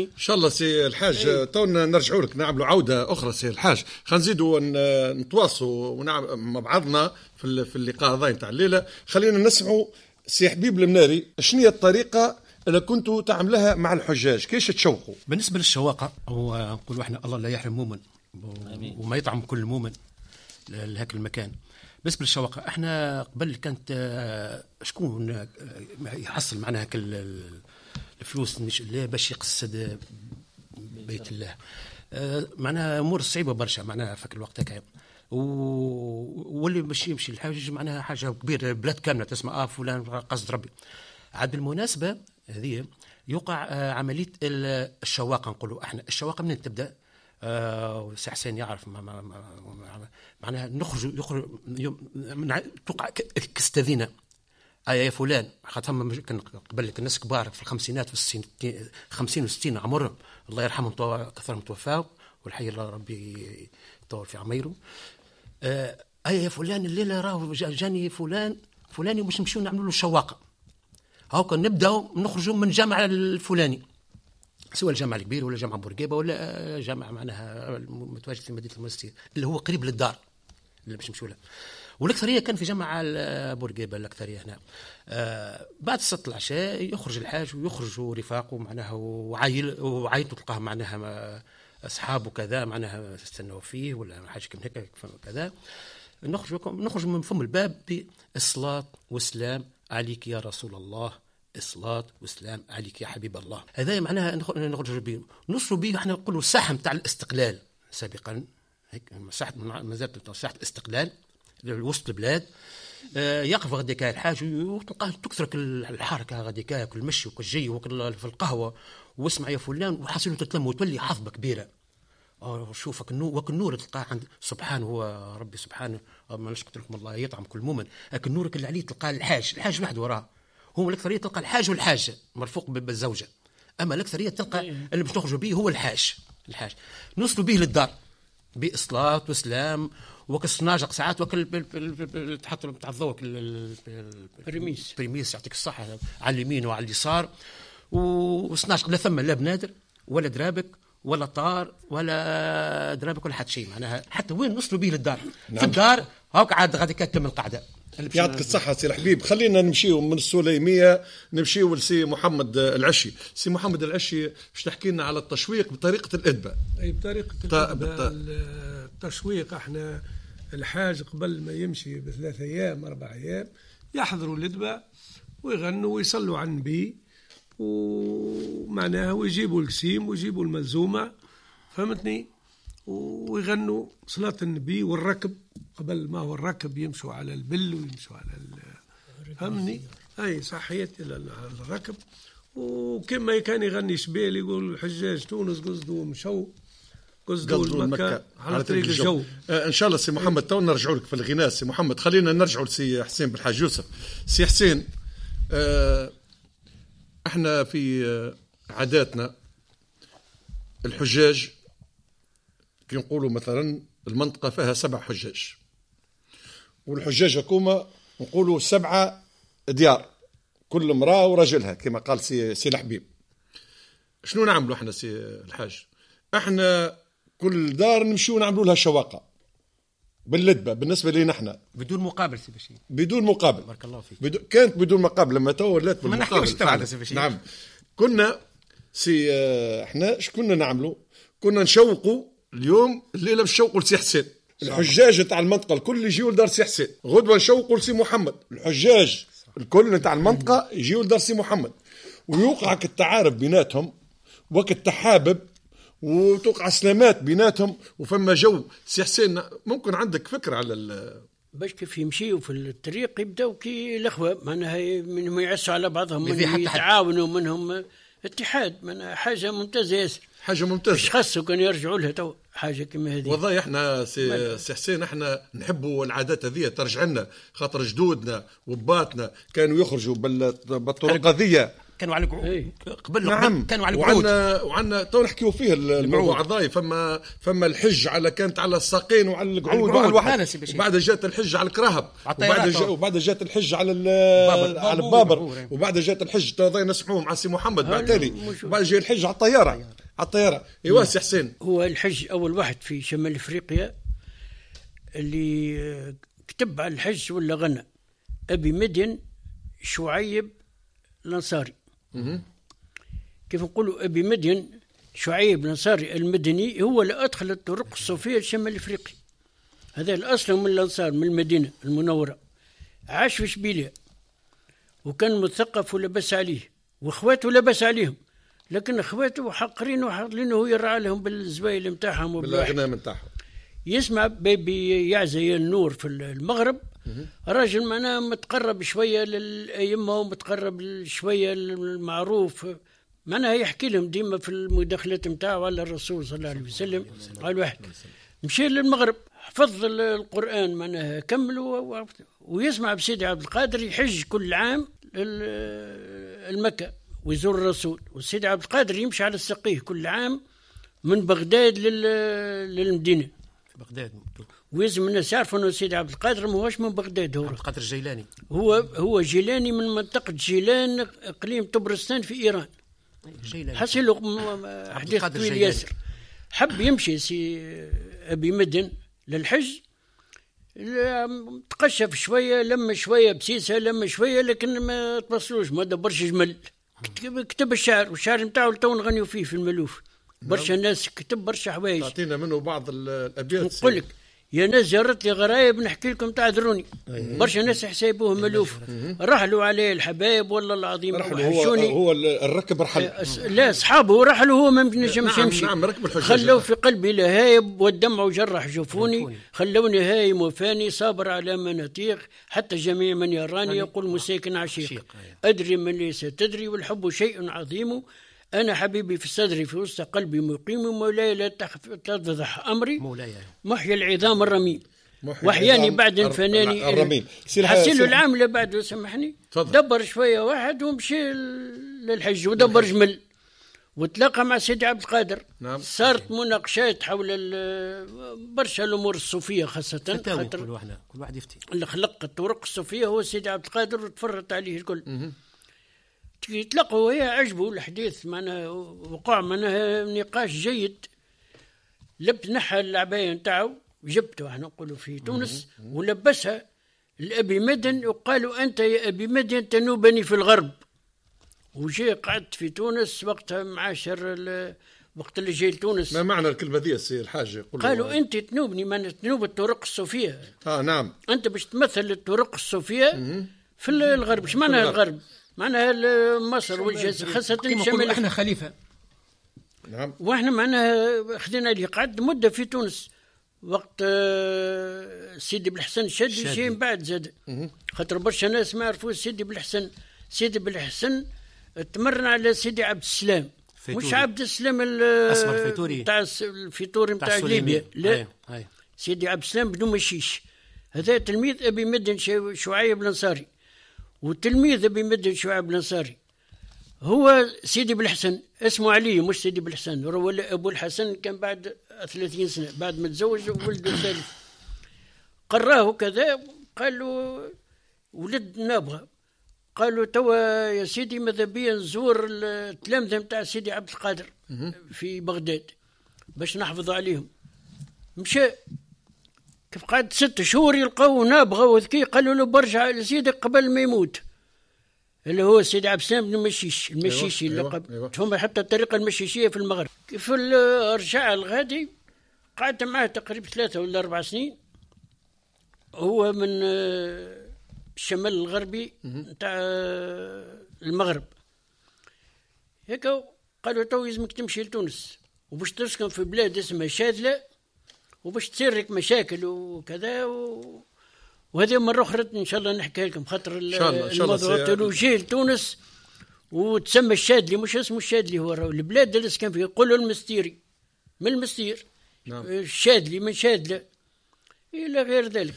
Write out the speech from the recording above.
فهمتني؟ ان شاء الله سي الحاج تو نرجعوا لك، نعملوا عوده اخرى سي الحاج. خلينا نزيدوا نتواصلوا ونعمل مع بعضنا في اللقاء هذا نتاع الليلة. خلينا نسمعوا سي حبيب المناري، شنو هي الطريقة اللي كنتوا تعملها مع الحجاج؟ كيش تشوقوا؟ بالنسبة للشواقه، هو نقولوا احنا الله لا يحرم مؤمن وما يطعم كل مؤمن لهاك المكان. بالنسبة للشواقه، احنا قبل كانت شكون يحصل معناها الفلوس باش يقصد بيت الله، معناها امور صعيبة برشا معناها فك الوقت هكا، واللي باش يمشي الحاج معناها حاجة كبيرة، بلاد كاملة تسمع فلان قصد ربي. عاد بالمناسبة هذه يوقع عملية الشواقه، نقولوا احنا الشواقه منين تبدا؟ سي حسين يعرف معناها نخرج يخرج توقع كستذينه يا فلان، خاطر فما كان قبل الناس كبار في الخمسينات في 50 و60 عمرهم الله يرحمهم كثرهم توفاو والحي الله ربي يطول في عميرة. يا فلان الليلة راهو جاني فلان فلاني باش نمشيو نعملوا له شواقه، هاكا نبداو نخرجوا من الجامع الفلاني، سواء الجامع الكبير ولا جامع بورقيبة ولا جامع معناها متواجد في مدينة المنستير اللي هو قريب للدار اللي باش نمشيو له. والاكثريه كان في جامع بورقيبة الاكثرية هنا. بعد صلاة العشاء يخرج الحاج ويخرج رفاقه معناها وعائلته تلقاه معناها اصحابه كذا معناها استنوا فيه ولا حاجة كيما هكا كذا. نخرج من فم الباب بالصلاة والسلام عليك يا رسول الله، الصلاة والسلام عليك يا حبيب الله. هذا معناها نخرج به، نوصلوا به احنا نقولوا الساحة نتاع الاستقلال سابقا، هيك ساحة ما زالت ساحة الاستقلال وسط البلاد. يقف غاديك الحاج وتلقاه تكثر الحركة غاديك، كل مشي وكل جي وكل في القهوة واسمع يا فلان، وحاصل تتلم وتولي حظبه كبيرة. شوفك النور، النور تلقاه عند سبحانه هو ربي سبحانه، ما قلت لكم الله يطعم كل مؤمن، لكن النور اللي عليه تلقاه الحاج وحده وراه. هو الاكثرية تلقى الحاج والحاجة مرفوق بالزوجه، اما الاكثرية تلقى اللي باش نخرجوا به هو الحاج. نوصلوا به للدار بصلاة وسلام وكالصناجق ساعات وكل تحط تاع الضوء البريميس يعطيك الصحة على اليمين وعلى اليسار، وصناجق لا ثم لا بنادر ولا درابك ولا طار ولا درابك ولا حتى شيء معناها، حتى وين نوصلوا به للدار. نعم. في الدار هاك عاد غادي تتم القعدة. يعطيك الصحة سي الحبيب. خلينا نمشيو من السليمية نمشيو لسي محمد العشي. سي محمد العشي باش تحكي لنا على التشويق بطريقة الإدبة. أي بطريقة الإدبة. التشويق احنا الحاج قبل ما يمشي ب3 أيام 4 أيام يحضروا الإدبة ويغنوا ويصلوا على النبي ومعناها ويجيبوا الكسيم ويجيبوا الملزومة، فهمتني، ويغنوا صلاة النبي والركب قبل ما هو الركب يمشوا على البل ويمشوا على فهمني، اي صحيت الركب. وكما كان يغني شبيل يقول الحجاج تونس قصدوا مشوا قصدوا المكة على طريق الجو. ان شاء الله سي محمد تو نرجعوا لك في الغناء. سي محمد خلينا نرجعوا لسي حسين بالحاج يوسف. سي حسين، احنا في عاداتنا الحجاج كي نقولوا مثلا المنطقة فيها 7 حجاج، والحجاج هكوما نقولوا 7 ديار، كل امرأة ورجلها كما قال سي الحبيب. شنو نعملوا احنا سي الحاج؟ احنا كل دار نمشيو نعملوا لها شواقة باللدبة بالنسبة لنا احنا، بدون مقابل سي بشير. بدون مقابل، بارك الله فيك. كانت بدون مقابل، لما تو ولات بالمقابل. ما نحكيوش سي. نعم، كنا سي احنا اش كنا نعملوا؟ كنا نشوقوا اليوم الليلة باش نشوقوا لسي حسين، الحجاج تاع المنطقة الكل يجيو لدار سي حسين. غدوه نشوقوا لسي محمد، الحجاج الكل تاع المنطقة يجيو لدار سي محمد، ويوقع التعارف بيناتهم وقت التحابب وتوقع سلامات بيناتهم وفما جو. سي حسين ممكن عندك فكرة على باش كيف يمشيوا في الطريق يبداو كي الاخوة معناها، منهم يعسوا على بعضهم، منهم يتعاونوا، منهم اتحاد، معناها حاجة ممتازة ياسر، حاجة ممتازة. مش خاصة كان يرجعوا لها تو حاجة كما هذه. والله احنا سي حسين احنا نحبوا العادات هذه ترجع لنا، خاطر جدودنا وباتنا كانوا يخرجوا بالطرق هذه، كانوا على قبل. نعم. كانوا على القعود. وعندنا تو نحكيو فيه الموضوع هذا. فما الحج على كانت على الساقين وعلى القعود وعلى الواحد، وبعد جات الحج على الكرهب، وبعد جات الحج على البابر، وبعد جات الحج تو نسمعوه مع سي محمد بعد تالي، وبعد جاء الحج على الطيارة. على الطيارة. ايوا سي حسين، هو الحج اول واحد في شمال افريقيا اللي كتب على الحج ولا غنى، ابي مدين شعيب الانصاري. كيف نقولوا ابي مدين شعيب الانصاري المدني هو اللي ادخل الطرق الصوفية لشمال افريقيا. هذا الاصل من الانصار من المدينة المنورة، عاش في شبيليا وكان مثقف ولبس عليه، واخواته لبس عليهم، لكن اخواته حقرين وحاطينه هو يرعى لهم بالزبايل نتاعهم وبالاغنام نتاعهم. يسمع بيبي يعزي النور في المغرب، راجل معناه متقرب شوية للأئمة ومتقرب شوية للمعروف، معناها يحكي لهم ديما في المداخلات نتاعو على الرسول صلى الله عليه وسلم. قال واحد مشي للمغرب حفظ القرآن معناها كمل، ويسمع بسيدي عبد القادر يحج كل عام المكة ويزور الرسول، وسيدي عبد القادر يمشي على السقيه كل عام من بغداد للمدينة في بغداد. ويلزم الناس يعرفوا انه سيدي عبد القادر ما هوش من بغداد، هو عبد القادر الجيلاني، هو جيلاني من منطقة جيلان اقليم طبرستان في ايران. حصل حديث طويل ياسر. حب يمشي سي ابي مدن للحج، تقشف شوية، لم شوية بسيسه، لم شوية، لكن ما توصلوش، ما دبرش جمل. كتب الشعر، والشعر نتاعو تو نغنيو فيه في الملوف. برشا ناس كتب برشا حوايج. تعطينا منه بعض الابيات. نقول لك يا ناس جرت لي غرايب نحكي لكم تعذروني. برشا ناس حسابوه ملوف. رحلوا عليه الحبايب والله العظيم. هو الركب رحل. لا اصحابه رحلوا، هو ما نجمش يمشي. نعم ركب الحجاج. خلوا في قلبي لهايب والدمع جرح جفوني، خلوني هايم وفاني صابر على مناطيق، حتى جميع من يراني يقول مساكن عشيق. ادري من ليس تدري والحب شيء عظيم، أنا حبيبي في الصدر في وسط قلبي مقيم، مولاي لا تفضح أمري، مولاي محيي العظام الرميم، وحياني بعد فناني الرميم. حسيلو العام اللي بعده سامحني، دبر شوية واحد ومشي للحج ودبر جمل وتلاقى مع سيدي عبد القادر. نعم. صارت مناقشات حول برشا الأمور الصوفية خاصة، كل واحد يفتي. اللي خلق الطرق الصوفية هو سيدي عبد القادر وتفرط عليه الكل. يتلقوا وهي عجبوا الحديث، معناها وقع معناها نقاش جيد. لب نحى العباية نتاعو جبته احنا نقولوا في تونس، ولبسها لأبي مدن وقالوا أنت يا أبي مدن تنوبني في الغرب. وجي قعدت في تونس وقتها معاشر وقت اللي جاي لتونس. ما معنى الكلمة دي سي الحاج؟ قالوا أنت تنوبني، معناها تنوب الطرق الصوفية. نعم، أنت باش تمثل الطرق الصوفية في الغرب. اش معناها الغرب؟ معناها مصر والجزائر خاصة الشمال. احنا خليفة. نعم. واحنا معناها خدينا اللي قعد مدة في تونس وقت سيدي بالحسن الشادلي جاي من بعد زاد. خاطر برشا ناس ما عرفوش سيدي بالحسن. سيدي بالحسن تمرن على سيدي عبد السلام، مش عبد السلام الفيتوري تاع الفيتوري نتاع ليبيا، لا. سيدي عبد السلام بن مشيش، هذا تلميذ ابي مدن شعيب الانصاري، والتلميذ ابي مدن شعيب الانصاري هو سيدي بالحسن، اسمه علي مش سيدي بالحسن، هو ابو الحسن كان بعد 30 سنة بعد ما تزوج ولده الثالث. قراه كذا، قال له ولد نابغه، قال له توا يا سيدي ماذا بيا نزور التلامذه نتاع سيدي عبد القادر في بغداد باش نحفظ عليهم. مشى كيف قعد 6 شهور يلقاو نابغه وذكي، قالوا له برجع لسيدك قبل ما يموت، اللي هو سيدي عبد السلام بن مشيش المشيشي. اللقب. أيوة. هم حتى الطريقة المشيشيه في المغرب. كيف رجع الغادي قعدت معاه تقريبا 3 ولا 4 سنين. هو من الشمال الغربي نتاع المغرب. هيك قالوا تو لازمك تمشي لتونس وباش تسكن في بلاد اسمها شاذلة وباش تصير لك مشاكل وكذا وهذه مرة أخرى إن شاء الله نحكي لكم، خاطر الموضوع جاي لتونس وتسمى الشاذلي، مش اسمه الشاذلي، هو البلاد اللي سكن فيها يقولوا المستيري من المستير. نعم. الشاذلي من شاذلة إلى غير ذلك.